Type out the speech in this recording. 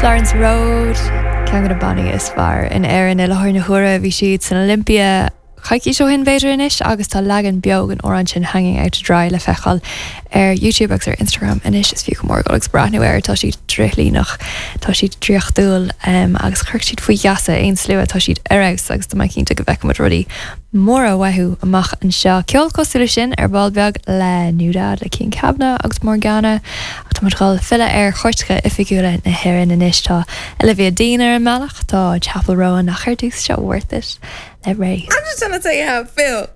Florence Road, ceann de na bannaí is fearr in Éirinn i láthair na huaire. Bhí siad san Olympia coicís ó shin b'fhéidir anois agus tá leagan beo den amhrán sin Hanging Out To Dry le feiceáil ar YouTube agus ar Instagram anois. Is fiú go mór dul agus breathnú air, tá siad drithlíneach, tá siad draíochtúil agus chuirfeadh siad faoi gheasa aon slua, tá siad ar fheabhas agus tá mé cinnte go bhfeicfidh muid rudaí móra uathu amach anseo. Ceol cosúil leis sin ar ball beag le NewDad, le Cian Kavanagh agus Morgana. Ach tá muid ag dul filleadh ar chairteacha oifigiúla na hÉireann anois. Tá Olivia Dean ar an mbealach, tá Chappell Roan ach ar dtús seo Worth It le Raye. I'm just trying to tell you how I feel.